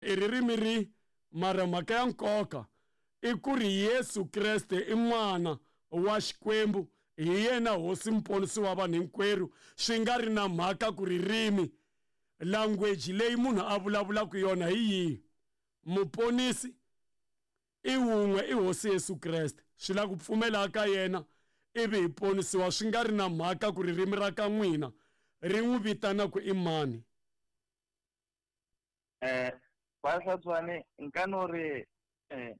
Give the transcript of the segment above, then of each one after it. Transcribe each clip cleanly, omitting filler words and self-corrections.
I ririmi ri mara mhaka ya nkoka i ku ri Yesu Kreste i N'wana wa Xikwembu, hi yena Hosi Muponisi wa vanhu hinkwerhu, swi nga ri na mhaka ku ririmi, language, leyi munhu a vulavulaka yona hi yihi. Muponisi i wun'we, i Hosi Yesu Kreste. Swi lava ku pfumela ka yena ivi hi ponisiwa swi nga ri na mhaka ku ririmi ra ka n'wina ri n'wi vitana ku i mani. Eh, ba hlatswane nka no re eh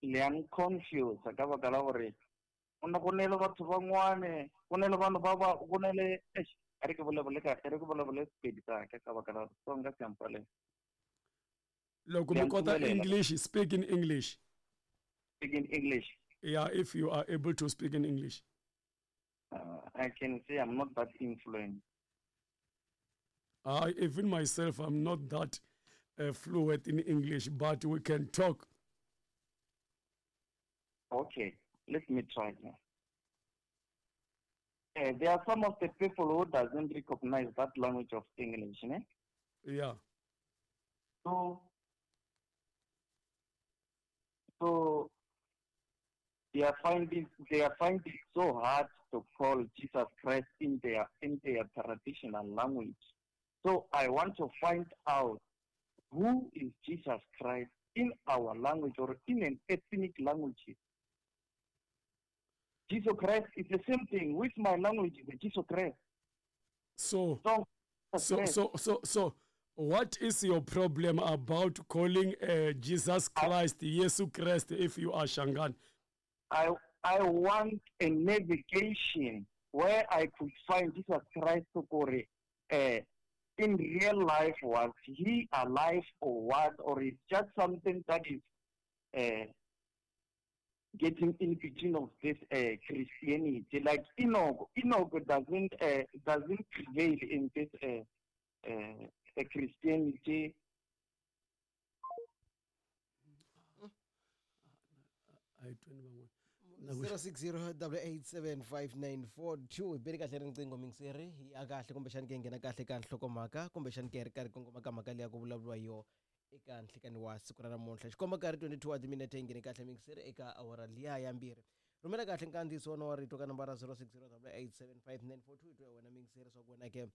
le yang confuse ka baka la gore go ne go ne le batho bangwane go ne le vanhu ba ba go ne le eish a re ke bolabole ka re ke bolabole Sepedi sa ka ka baka la gore Setsonga se a mpalela. Loko mi kota English, speak in English. Speak in English. Yeah, if you are able to speak in English. I can say I'm not that influenced. I even myself I'm not that fluent in English, but we can talk. Okay, let me try now. There are some of the people who doesn't recognize that language of English, ne? Yeah. So, so they are finding they are finding so hard to call Jesus Christ in their in their traditional language. So I want to find out who is Jesus Christ in our language or in an ethnic language. Jesus Christ is the same thing with my language, the Jesus Christ. So, so, so, so, so, so, what is your problem about calling Jesus Christ, Jesus Christ, if you are Shangan? I, I want a navigation where I could find Jesus Christ Kore, in real life, was he alive or what, or it's just something that is getting in between of this Christianity. Like Enoch, Enoch doesn't prevail in this Christianity. I tweni van'wana. 0608875942 hi beli kahle riqingho mingiseri hi ya kahle kumbexani ke nghena kahle ka nhlokomhaka kumbexani ke ri karhi kongoma ka mhaka leyi ya ku vulavuriwa hi yona eka nhlikani wa siku ra namuntlha xikomba nkarhi 22 wa timinete yi nghene kahle mingiseri eka awara liya ya mbirhi rhumela kahle nkandziyiso wona wa rito ka nambara 0608875942 hi twa wena mingiseri swa ku wena ke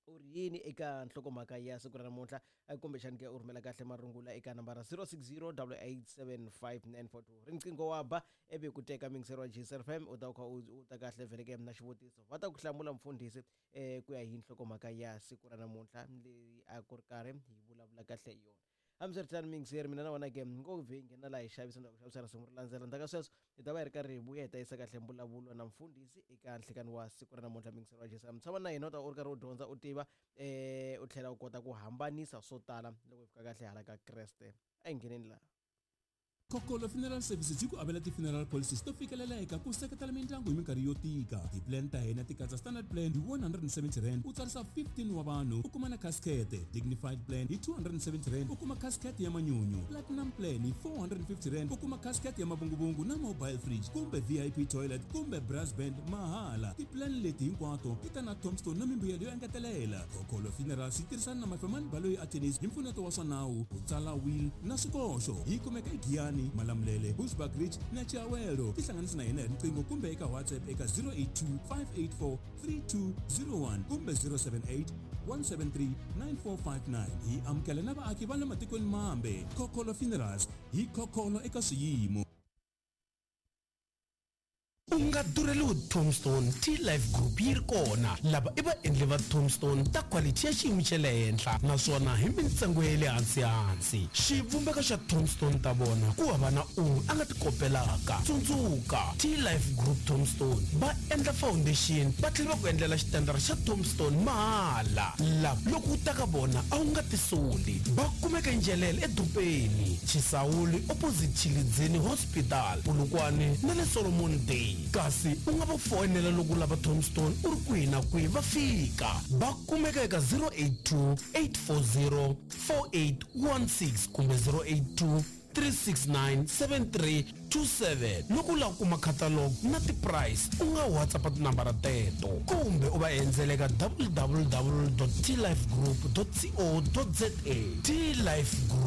u ri yini eka nhlokomhaka ya siku ra namuntlha kumbexani ke u rhumela kahle marungula eka nambara 0608875942 riqingho wa ba ivi ku teka mingiseri wa GSFM u ta kha u ta kahle vhele ke na xivutiso va ta ku hlamula mfundhisi um ku ya hi nhlokomhaka ya siku ra namuntlha leyi a ku ri karhi hi vulavula kahle hi yona hambiswiritano miyingiseri mina na wena ke ngo vhe hi nghena laha hi xavisa na ku xavisa risimu ri landzela ndzhaku ka sweswo hi ta va hi ri karhi hi vuya hi ta yisa kahle mbulavulo na mfundhisi eka nhlikani wa siku ra namuntlha miyingiseri wa jesu tshama na hina u ta u ri karhi u dyondza u tiva um u tlhela u kota ku hambanisa swo tala loko hi fika kahle hala ka kreste a hi ngheneni laha Kokolo Funeral Services yi ku avela ti-funeral policies to fikeleleka ku seketela mindyangu hi minkarhi yo tika. Ti-plan ta hina ti katsa standard plan hi R170 u tsarisa 15 wa vanhu u kuma na casket, dignified plan hi R270 u kuma casket ya manyunyu, platinum plan hi R450 u kuma casket ya mavunguvungu na mobile fridge kumbe VIP toilet kumbe brass band mahala. Ti-plan leti hinkwato ti ta na tombstone na mimbuyelo yo engetelela. Kokolo Funerals yi tirhisana na Mafemani Baloyi Attorneys hi mpfuneto wa swa nawu, ku tsala will na swikoxo. Yi kumeka eGiyani, Malamulele, Bushbuckridge na Chiawelo. Tihlanganisi na hina hi riqingho kumbe eka WhatsApp eka 082 584 3201 kumbe 078 173 9459. Hi amukela na vaaki va le matikweni mambe. Khokholo Funerals, hi khokholo eka swiyimo. U nga durheliwi Tombstone, T-Life Group yi ri kona. Lava i vaendli va Tombstone ta quality ya xiyimo xa le henhla naswona hi mintsengo ya le hansi-hansi. Xivumbeko xa Tombstone ta vona ku hava na un'we a nga ti kopelaka. Tsundzuka, T-Life Group Tombstone va endla foundation va tlhela va ku endlela xitandara xa Tombstone mahala. Lava loko u ta ka vona a wu nga tisoli. Va kumeka eNjelele edorobeni, Chisawuli opposite Tshilidzini Hospital. Polokwane na le Solomon Day. Kasi u nga va foyinela loko u lava tombstone u ri kwihi na kwihi va fika. Va kumeka eka 082 840 4816 kumbe 082. 369 7327. Loko u lava ku kuma catalog na ti-price, u nga WhatsApp tinambara teto kumbe u va endzela eka www.tlifegroup.co.za. T-Life Group.